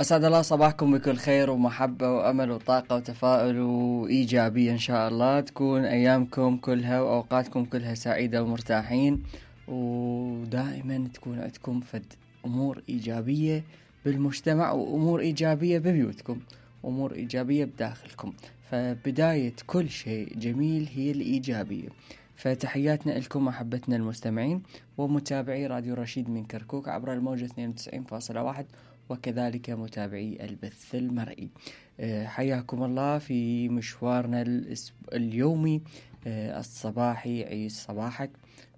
أسعد الله صباحكم بكل خير ومحبة وأمل وطاقة وتفاؤل وإيجابية إن شاء الله. تكون أيامكم كلها وأوقاتكم كلها سعيدة ومرتاحين، ودائما تكون عندكم فد أمور إيجابية بالمجتمع وأمور إيجابية ببيوتكم، أمور إيجابية بداخلكم. فبداية كل شيء جميل هي الإيجابية. فتحياتنا لكم أحبتنا المستمعين ومتابعي راديو رشيد من كركوك عبر الموجة 92.1 وكذلك متابعي البث المرئي. حياكم الله في مشوارنا اليومي الصباحي. عيش صباحك،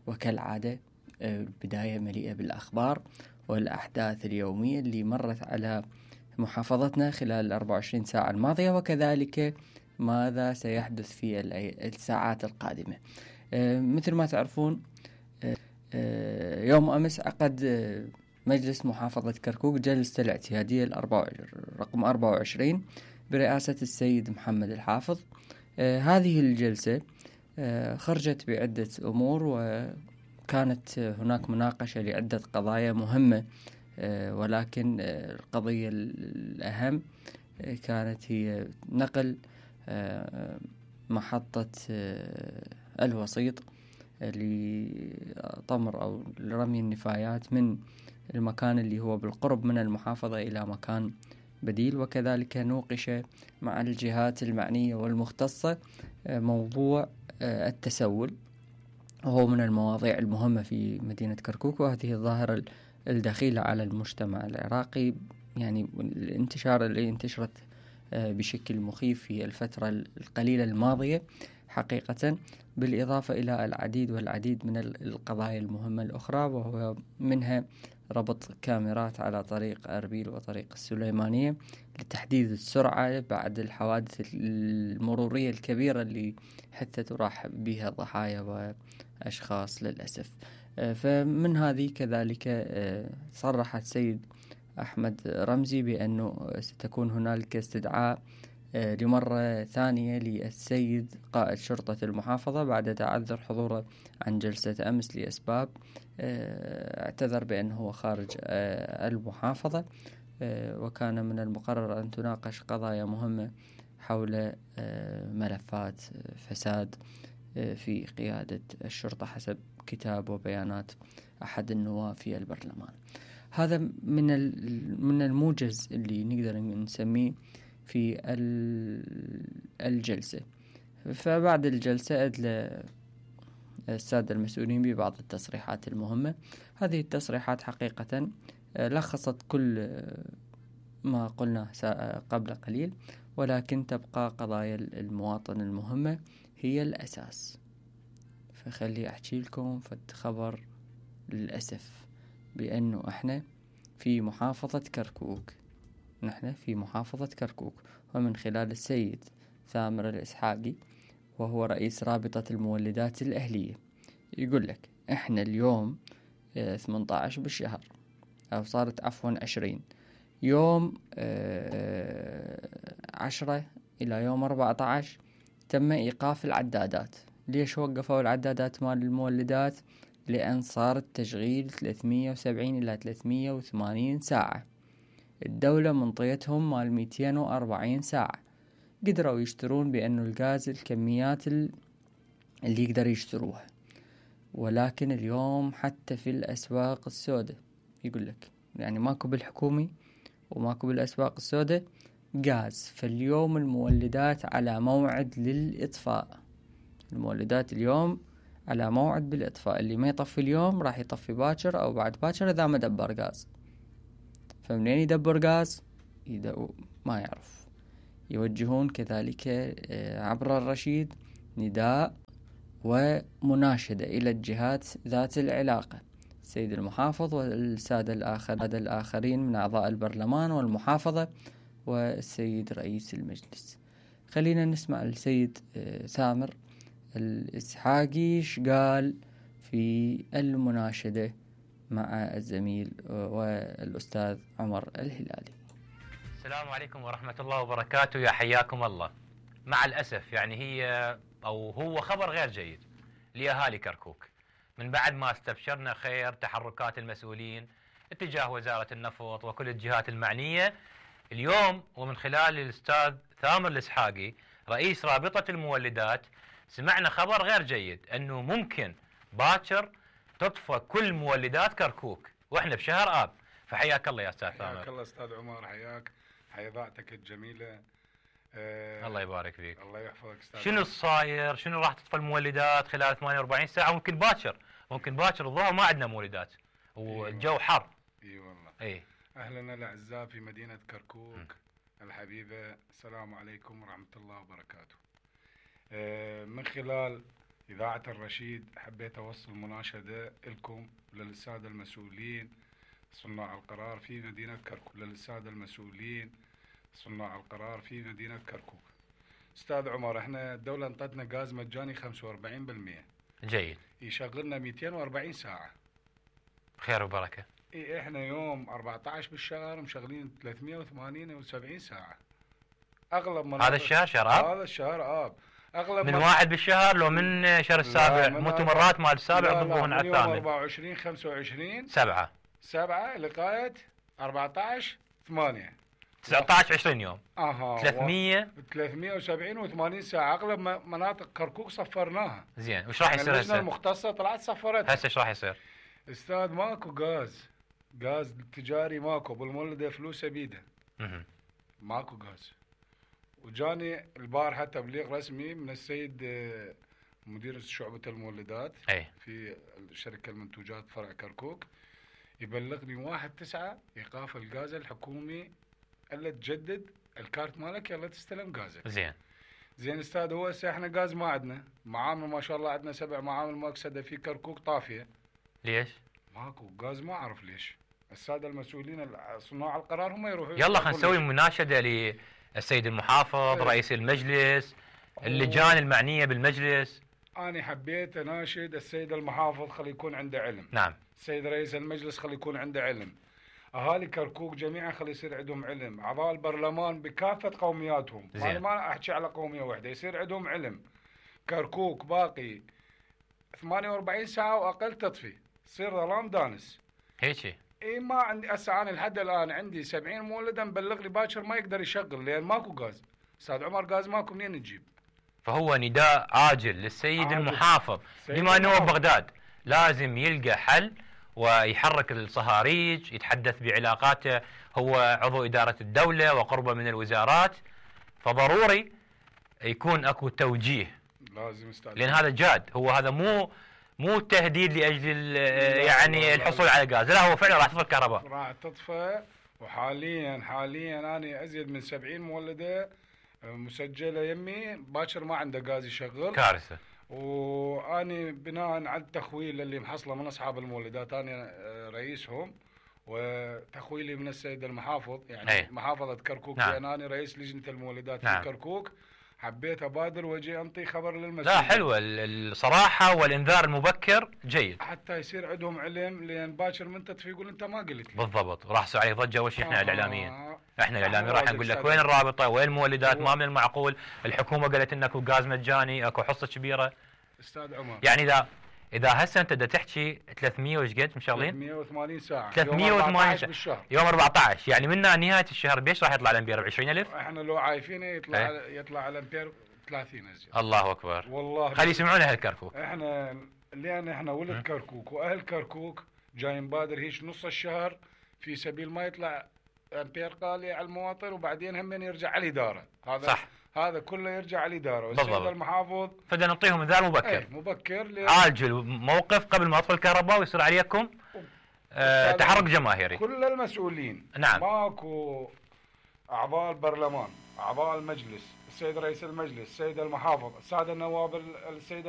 وكالعادة البداية مليئة بالأخبار والأحداث اليومية اللي مرت على محافظتنا خلال 24 ساعة الماضية، وكذلك ماذا سيحدث في الساعات القادمة. مثل ما تعرفون، يوم أمس عقد مجلس محافظة كركوك جلسة الاعتيادية رقم 24 برئاسة السيد محمد الحافظ. هذه الجلسة خرجت بعدة أمور، وكانت هناك مناقشة لعدة قضايا مهمة، ولكن القضية الأهم كانت هي نقل محطة الوسيط لطمر أو لرمي النفايات من المكان اللي هو بالقرب من المحافظة إلى مكان بديل. وكذلك نوقش مع الجهات المعنية والمختصة موضوع التسول، وهو من المواضيع المهمة في مدينة كركوك، وهذه الظاهرة الدخيلة على المجتمع العراقي، يعني الانتشار اللي انتشرت بشكل مخيف في الفترة القليلة الماضية حقيقة، بالإضافة إلى العديد والعديد من القضايا المهمة الأخرى، وهو منها ربط كاميرات على طريق أربيل وطريق السليمانية لتحديد السرعة بعد الحوادث المرورية الكبيرة اللي حتى تراح بها ضحايا وأشخاص للأسف. فمن هذه كذلك صرح السيد أحمد رمزي بأنه ستكون هنالك استدعاء لمرة ثانية للسيد قائد شرطة المحافظة بعد تعذر حضوره عن جلسة أمس لأسباب. اعتذر بأنه هو خارج المحافظة، وكان من المقرر أن تناقش قضايا مهمة حول ملفات فساد في قيادة الشرطة حسب كتاب وبيانات أحد النواب في البرلمان. هذا من الموجز اللي نقدر نسميه في الجلسة. فبعد الجلسة أدلى السادة المسؤولين ببعض التصريحات المهمة. هذه التصريحات حقيقة لخصت كل ما قلناه قبل قليل، ولكن تبقى قضايا المواطن المهمة هي الأساس. فخلي أحكي لكم خبر للأسف بأنه إحنا في محافظة كركوك، ومن خلال السيد ثامر الإسحاقي وهو رئيس رابطة المولدات الأهلية يقول لك إحنا اليوم 18 بالشهر، أو صارت عفوا 20 يوم 10 إلى يوم 14 تم إيقاف العدادات. ليش وقفوا العدادات مال المولدات؟ لأن صار التشغيل 370 إلى 380 ساعة. الدولة منطيتهم مال 240 ساعة، قدروا يشترون بأنه الغاز الكميات اللي يقدر يشتروها. ولكن اليوم حتى في الأسواق السوداء يقول لك يعني ماكو بالحكومي وماكو بالأسواق السوداء غاز. فاليوم المولدات على موعد للإطفاء، المولدات اليوم على موعد بالإطفاء. اللي ما يطفي اليوم راح يطفي باكر أو بعد باكر إذا ما دبر غاز. فمنين يدبر غاز؟ ما يعرف. يوجهون كذلك عبر الرشيد نداء ومناشدة إلى الجهات ذات العلاقة، السيد المحافظ والسادة الآخرين من أعضاء البرلمان والمحافظة والسيد رئيس المجلس. خلينا نسمع السيد ثامر الإسحاقي قال في المناشدة مع الزميل والأستاذ عمر الهلالي. السلام عليكم ورحمة الله وبركاته. يا حياكم الله. مع الأسف يعني هو خبر غير جيد لأهالي كركوك، من بعد ما استبشرنا خير تحركات المسؤولين اتجاه وزارة النفط وكل الجهات المعنية اليوم ومن خلال الاستاذ ثامر الاسحاقي رئيس رابطة المولدات سمعنا خبر غير جيد، انه ممكن باكر تطفى كل مولدات كركوك واحنا بشهر اب. فحياك الله يا استاذ ثامر. حياك الله استاذ عمر، حياك، حيا ذاتك الجميله. الله يبارك فيك. الله يحفظك استاذ. شنو الصاير؟ شنو راح تطفى المولدات خلال 48 ساعه؟ ممكن باكر الظهر ما عندنا مولدات والجو حر. اي والله. اي اهلنا الاعزاء في مدينه كركوك الحبيبه، السلام عليكم ورحمه الله وبركاته. من خلال اذاعه الرشيد حبيت اوصل مناشده لكم وللساده المسؤولين صناع القرار في مدينه كركوك، للساده المسؤولين صناع القرار في مدينه كركوك. استاذ عمر، احنا الدوله انطتنا غاز مجاني 45%. جيد. يشغلنا 240 ساعه. خير وبركه. اي احنا يوم 14 بالشهر مشغلين 378 ساعه. اغلب مناطق هذا الشهر شهر اب؟ هذا الشهر اب. اغلب من واحد بالشهر لو من شهر السابع؟ مو مرات مال السابع ضربوهن على الثامن. 24 25 7 لغايه 14 8 19 20 يوم. 370 و80 ساعه. اغلب مناطق كركوك صفرناها. زين، وش راح يصير اللجنه المختصه طلعت صفرتها. هسه ايش راح يصير؟ استاذ ماكو غاز تجاري، ماكو بالمولده فلوسه بيده. ماكو غاز. وجاني البارحه تبليغ رسمي من السيد مدير شعبة المولدات في شركة المنتوجات فرع كركوك، يبلغني 1/9 ايقاف الغاز الحكومي، الا تجدد الكارت مالك يلا تستلم غازك. زين استاذ، هو هسه احنا غاز ما عندنا، معامل ما شاء الله عندنا 7 معامل مؤكسده في كركوك طافيه. ليش؟ ماكو غاز، ما اعرف ليش. الساده المسؤولين صناع القرار هم يروحوا. يلا خلينا نسوي مناشده للسيد المحافظ، رئيس المجلس، اللجان المعنيه بالمجلس. انا حبيت اناشد السيد المحافظ خلي يكون عنده علم. نعم. السيد رئيس المجلس خلي يكون عنده علم. اهالي كركوك جميعا خلي يصير عندهم علم. اعضاء البرلمان بكافه قومياتهم، انا ما احكي على قوميه واحده، يصير عندهم علم. كركوك باقي 48 ساعه واقل تطفي، تصير ظلام دانس. هيك؟ اي ما عندي هسه، انا لحد الان عندي 70 مولده مبلغ لي باكر ما يقدر يشغل لان ماكو غاز. استاذ عمر غاز ماكو، منين نجيب؟ فهو نداء عاجل للسيد المحافظ بما انه بغداد لازم يلقى حل ويحرك الصهاريج، يتحدث بعلاقاته، هو عضو إدارة الدولة وقربه من الوزارات، فضروري يكون اكو توجيه. لازم استاذ، لان هذا جاد، هو هذا مو تهديد لاجل يعني الحصول على غاز، لا هو فعلا راح تطفى الكهرباء. راح تطفى. وحاليا انا ازيد من 70 مولده مسجله يمي باكر ما عنده غاز يشغل. كارثه. واني بناء على التخويل اللي محصله من اصحاب المولدات، انا رئيسهم، وتخويلي من السيد المحافظ يعني محافظه كركوك، لان انا رئيس لجنه المولدات في كركوك، حبيت ابادر واجي انطي خبر للمسؤولين. لا حلوه الصراحه والانذار المبكر جيد، حتى يصير عندهم علم، لان باكر من تطفي يقول انت ما قلت لي. بالضبط، وراح يصير عليه ضجه. وش احنا الاعلاميين، احنا الاعلاميين راح نقول لك وين الرابطه، وين المولدات، ما من المعقول الحكومه قالت انك اكو غاز مجاني، اكو حصه كبيره. استاذ عمر، يعني اذا هسه انت بدك تحكي 300 وش قد مشغلين؟ 380 ساعه، 380 ساعه بالشهر، يوم 14 يعني من نهايه الشهر بيش راح يطلع الامبير ب 20,000؟ احنا لو عايفينه يطلع الامبير 30 ازيد. الله اكبر، والله خلي يسمعونا اهل كركوك. لان احنا ولد كركوك واهل كركوك جاي نبادر هيك نص الشهر في سبيل ما يطلع امبير غالي على المواطن، وبعدين هم يرجع على الاداره. هذا صح، هذا كله يرجع على الاداره والسيد المحافظ. فبدنا نعطيهم انذار مبكر. مبكر عاجل موقف قبل ما يطفي الكهرباء ويصير عليكم تحرك جماهيري. كل المسؤولين. نعم. ماكو اعضاء البرلمان، اعضاء المجلس، السيد رئيس المجلس، السيد المحافظ، الساده النواب، السيد